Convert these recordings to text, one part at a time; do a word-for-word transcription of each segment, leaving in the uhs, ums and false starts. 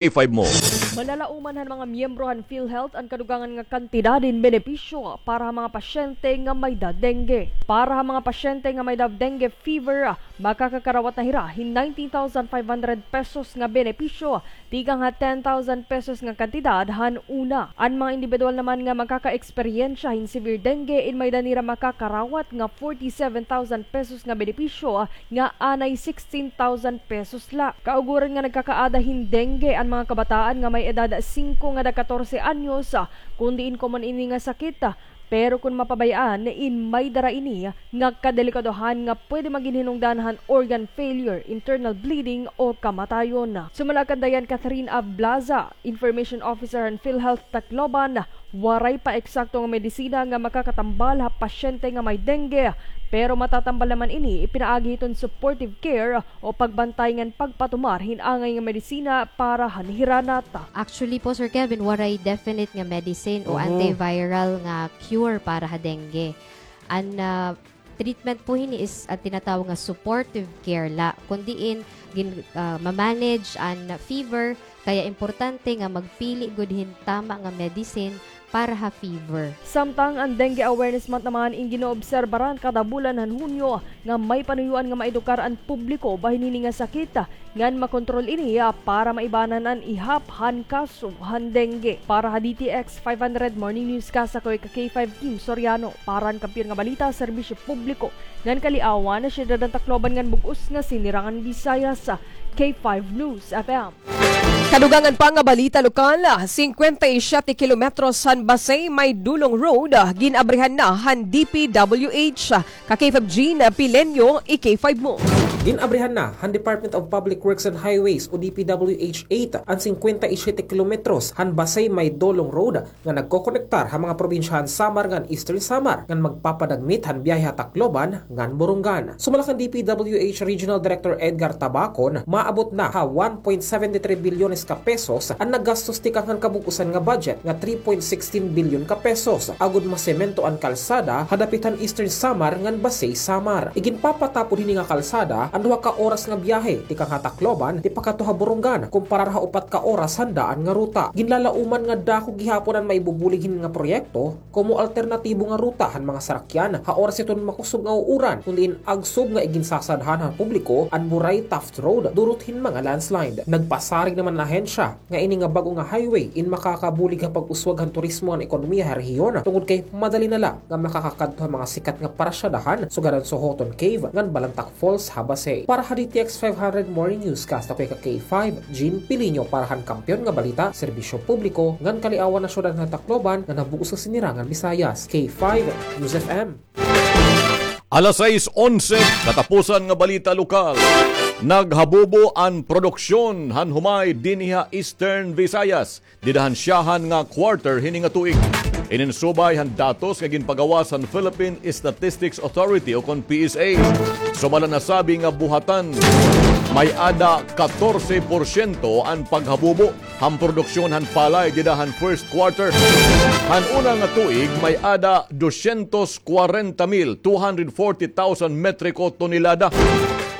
K five mo. Malalauman han mga miyembro han PhilHealth an kadugangan nga kantidad hin benepisyo para ha mga pasyente nga may-ada dengue. Para ha mga pasyente nga may-ada dengue fever, makakakarawat na hira hin nineteen thousand five hundred pesos nga benepisyo tikang ha ten thousand pesos nga kantidad han una. An mga indibidwal naman nga makakaeksperyensya hin severe dengue in may-ada nira makakarawat nga forty-seven thousand pesos nga benepisyo nga anay sixteen thousand pesos la. Kauguran nga nagkakaada hin dengue an mga kabataan nga may edad singko ngada katorse anyos, kun diin komon ini nga sakit, pero kun mapabay-an in may dara ini nga kadelikadohan nga pwede magin hinungdan han organ failure, internal bleeding o kamatayon. Sumala kan Diane Catherine Ablaza, Information Officer han PhilHealth Tacloban, waray pa eksakto nga medisina nga makakatambal ha pasyente nga may dengue, pero matatambal naman ini pinaagi hiton supportive care o pagbantay ngan pagpatumar hin angay nga medisina para han hiranat. Actually po, Sir Kevin, waray definite nga medicine o Mhm. antiviral nga cure para ha dengue. An, ah, treatment po hini is an tinatawag nga supportive care la, kun diin gin-, ah, ma-manage an fever, kaya importante nga magpili gud hin tama nga medicine para ha fever. Samtang an Dengue Awareness Month naman in ginoobserbaran kada bulan han Hunyo nga may panuyoan nga maedukar an publiko bahin hini nga sakit, ngan makontrol ini, ah, para maibanan an ihap han kaso han dengue. Para ha D T X five hundred Morning Newscast, ako ika K five Kim Soriano. Para han Kampiyon nga Balita, Serbisyo Publiko ngan Kaliawan, Siyudad han Tacloban ngan bug-os nga Sinirangan Visayas, K five News F M. Kadugangan pa nga balita lokal, singkwenta y siyete kilometros han Basey may Dolong Road, gin-abrihan na han D P W H. Ka K five Jean Pileño, i K five mo. Gin-abrihan na han Department of Public Works and Highways o D P W H eight an singkwenta y siyete kilometros han Basey may Dolong Road nga nagkokonektar ha mga probinsya han Samar ngan Eastern Samar ngan magpapadagmit han biyahe ha Tacloban ngan Borongan. Sumala kan D P W H Regional Director Edgar Tabacon, maabot na ha one point seventy three bilyones ka pesos an nagastos tikang han kabug-osan nga budget nga three point sixteen bilyon ka pesos agod masemento an kalsada ha dapit han Eastern Samar ngan Basey Samar. Iginpapatapod hini nga kalsada an duha ka oras nga biyahe tikang ha Tacloban tipakadto ha Borongan kumparar ha upat ka oras han daan nga ruta. Ginlalauman nga dako gihapon an maibubulig hini nga proyekto komo alternatibo nga ruta han mga sarakyan ha oras hiton makusog nga uuran, kun diin agsob nga iginsasadhan han publiko an buray Taft Road durot hin mga landslide. Nagpasarig naman an ahensya nga ini nga bag-o nga highway in makakabulig ha pag-uswag han turismo ngan ekonomiya ha rehiyon, tungod kay madali na la nga makakakadto ha mga sikat nga parasyadahan, sugad han Sohoton Cave ngan Balantac Falls ha Basey. Para ha D T X five hundred Morning Newscast, ako ika K five Jean Pileño. Para han Kampiyon nga Balita, Serbisyo Publiko ngan Kaliawan, ha Siyudad han Tacloban ngan ha bug-os nga Sinirangan Visayas, K five News F M. Alas sais onse, katapusan nga balita lokal. Naghabubo an produksyon han humay dinhi ha Eastern Visayas dida han syahan nga quarter hini nga tuig. Inin subay han datos nga ginpagawas han Philippine Statistics Authority o kon P S A. Sumala nasabi nga buhatan, may-ada katorse porsyento an paghabubo han produksyon han palay dida han first quarter. Han una nga tuig, may-ada dosyentos kwarenta mil, two hundred forty thousand metriko tonelada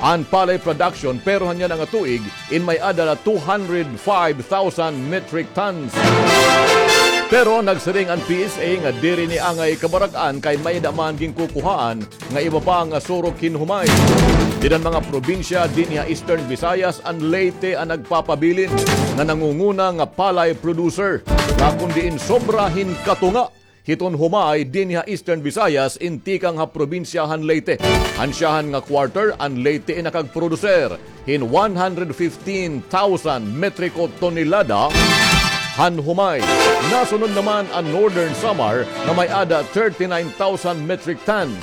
an palay production, pero han yana nga tuig, in may-ada la two hundred five thousand metric tons. Pero nagsiring an P S A nga diri ini angay kabarag-an kay may-ada man ginkukuhaan nga iba pa nga surok hin humay. Dida han mga probinsya dinhi ha Eastern Visayas, an Leyte an nagpapabilin nga nangunguna nga palay producer, nga kon diin sobra hin katunga hiton humay dinhi ha Eastern Visayas in tikang ha probinsya han Leyte. Han syahan nga quarter, an Leyte in nakagproduser hin one hundred fifteen thousand metriko tonelada han humay. Nasunod naman an Northern Samar nga may-ada thirty-nine thousand metric tons.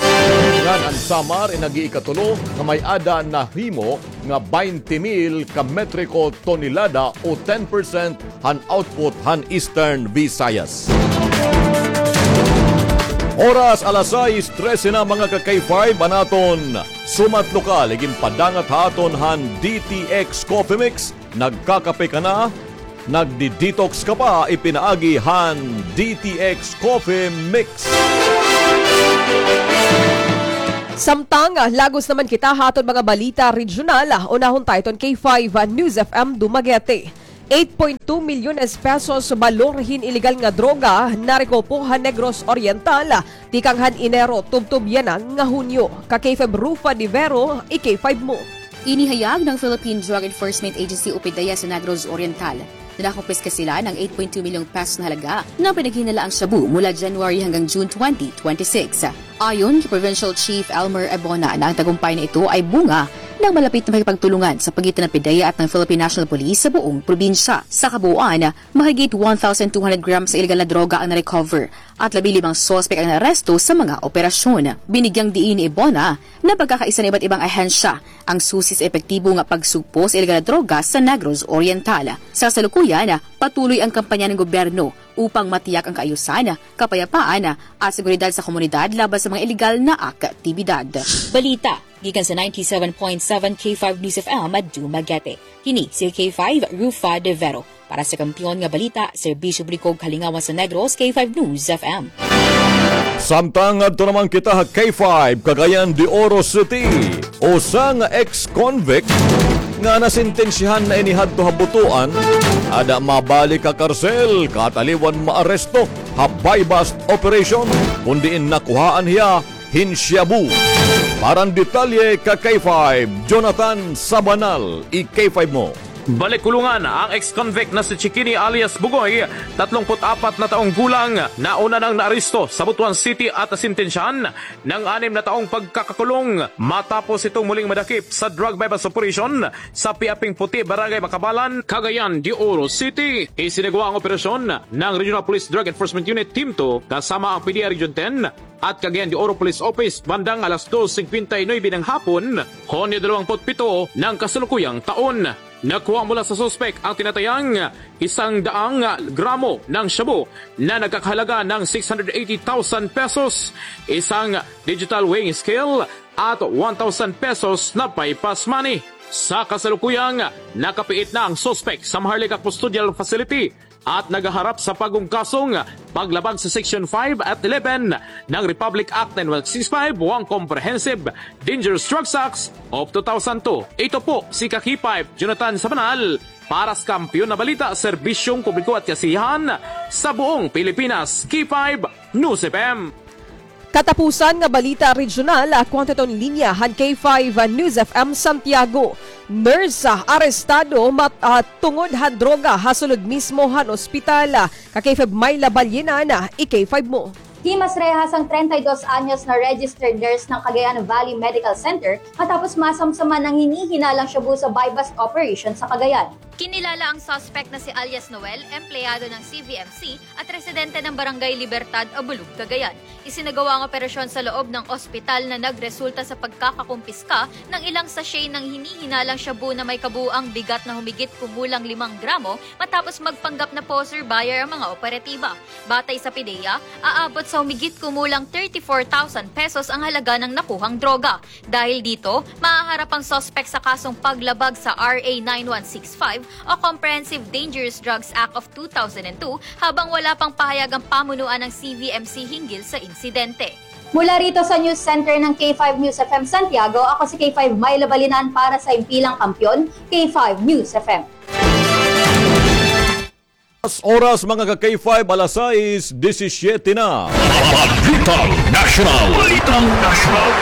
Ngan an Samar in nag-iikatulo nga may-ada nahimo nga baynte mil ka metriko tonelada o ten percent han output han Eastern Visayas. Oras alas sais trese na, mga ka-K five, an aton sumat lokal iginpadangat ha aton han D T X Coffee Mix. Nagkakape ka na, nagdi-detox ka pa, ipinaagi han D T X Coffee Mix. Samtang, ah, lagos naman kita ha aton mga balita regional, ah, unahon ta iton K five, ah, News F M Dumaguete. Eight point two milyones pesos balor hin ilegal nga droga narekopo han Negros Oriental tikang han Enero tubtob yana nga Hunyo. Ka K five Rufa de Vero, i K five mo. Inihayag ng Philippine Drug Enforcement Agency o PDEA sa Negros Oriental na nakumpiska sila ng eight point two milyong pesos na halaga ng pinaghinalaang shabu mula January hanggang June twenty twenty-six. Ayon kay Provincial Chief Elmer Ebona na ang tagumpay na ito ay bunga ng malapit na pakikipagtulungan sa pagitan ng PDEA at ng Philippine National Police sa buong probinsya. Sa kabuuan, mahigit one thousand two hundred grams sa illegal na droga ang na-recover at labing limang suspek ang naaresto sa mga operasyon. Binigyang diin ni Ebona na pagkakaisa ng iba't ibang ahensya ang susi sa epektibo nga pagsugpo sa illegal na droga sa Negros Oriental. Sa kasalukuyan, patuloy ang kampanya ng gobyerno upang matiyak ang kaayusan, kapayapaan at seguridad sa komunidad laban sa mga illegal na aktibidad. Balita gikan sa ninety-seven point seven K five News F M Dumaguete. Kini si K five Rufa de Vero. Para sa Kampiyon nga Balita, Serbisyo Publiko, Kalingawan sa Negros, K five News F M. Samtang adto naman kita ha K five, Cagayan de Oro City. Usa nga ex-convict nga nasentensyahan na inihadto ha butuan, ada mabalik ha karsel, kataliwan maaresto ha buy-bust operation, kun diin nakuhaan hiya hin shabu. Para han detalye ka K five, Jonathan Sabanal, i K five mo. Balik kulungan ang ex-convict na si Chikini alias Bugoy, tatlongput-apat na taong gulang, na una nang naaresto sa Butuan City at nasentensyahan ng anim na taong pagkakakulong matapos itong muling madakip sa drug buy-bust operation sa Piaping Puti, Barangay Macabalan, Cagayan de Oro City. Isinagawa ang operasyon ng Regional Police Drug Enforcement Unit Team two kasama ang PDEA Region ten at Cagayan de Oro Police Office bandang alas dos singkwenta y nuebe ng hapon, Hunyo dalawampu't pito ng kasalukuyang taon. Nakuha mula sa suspek ang tinatayang isang daang gramo ng shabu na nagkakahalaga ng six hundred eighty thousand pesos, isang digital weighing scale at one thousand pesos na buy-bust money. Sa kasalukuyang, nakapiit na ang suspek sa Maharlika Custodial Facility at naghaharap sa bagong kasong paglabag sa Section five at eleven ng Republic Act nine one six five o ang Comprehensive Dangerous Drugs Act of two thousand two. Ito po si ka K five, Jonathan Sabanal, para sa Kampiyon na Balita, Serbisyong Publiko at Kasiyahan sa buong Pilipinas, K five News F M. Katapusan nga balita regional, ako han tuton linya han K five News F M Santiago. Nurse, ah, arestado mat-, ah, tungod han droga ha sulod mismo han ospital. Ka K five Myla Balyenan, i K five mo. Himas rehas ang treinta y dos anyos na registered nurse ng Cagayan Valley Medical Center matapos masamsaman ng hinihinalang shabu sa buy-bust operation sa Cagayan. Kinilala ang suspect na si alias Noel, empleyado ng C V M C at residente ng Barangay Libertad, Abulug, Cagayan. Isinagawa ang operasyon sa loob ng ospital na nagresulta sa pagkakakumpiska ng ilang sachet ng hinihinalang shabu na may kabuuang bigat na humigit kumulang limang gramo matapos magpanggap na poser buyer ang mga operatiba. Batay sa PDEA, aabot sa humigit kumulang thirty-four thousand pesos ang halaga ng nakuhang droga. Dahil dito, mahaharap ang suspek sa kasong paglabag sa R A nine one six five o Comprehensive Dangerous Drugs Act of two thousand and two, habang wala pang pahayag ang pamunuan ng C V M C hinggil sa insidente. Mula rito sa News Center ng K five News F M Santiago, ako si K five Myla Balinan para sa Impilang Kampiyon, K five News F M. Oras, mga ka K five, alas sais disisyete na. Balitang Nasyonal. Balitang Nasyonal.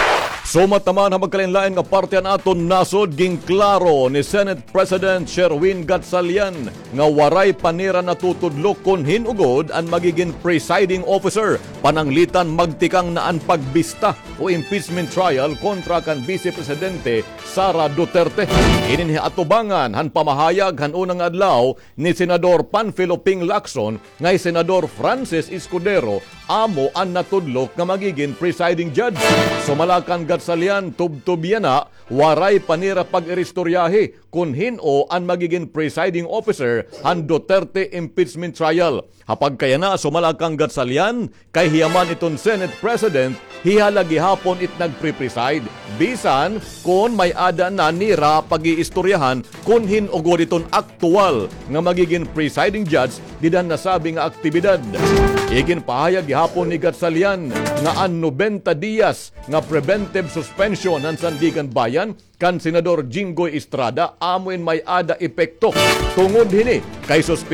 Sumat naman ha magkalain-lain nga parte han aton nasod, ginklaro ni Senate President Sherwin Gatchalian nga waray pa nira natutudlok kon hin-o gud an magigin presiding officer pananglitan magtikang na an pagbista o impeachment trial kontra kan Vice Presidente Sara Duterte. Inin hi atubangan han pamahayag han una nga adlaw ni Senador Panfilo Ping Lacson nga hi Senador Francis Escudero amo an natudlok nga magigin presiding judge. Sumala kan Gatchalian, tubtob yana, waray pa nira pag-iristoryahi kon hin-o an magigin presiding officer han Duterte impeachment trial. Ha pagkayana, sumala kan Gatchalian, kay hiya man iton Senate President, hiya la gihapon it nagpre-preside. Bisan kon may-ada na nira pag-iistoryahan kon hin-o gud iton aktuwal nga magigin presiding judge dida han nasabi nga aktibidad. Iginpahayag gihapon ni Gatchalian nga an nobenta diyas nga preventive suspension han Sandiganbayan kan Senador Jinggoy Estrada amo in may-ada epekto. Tungod hini kay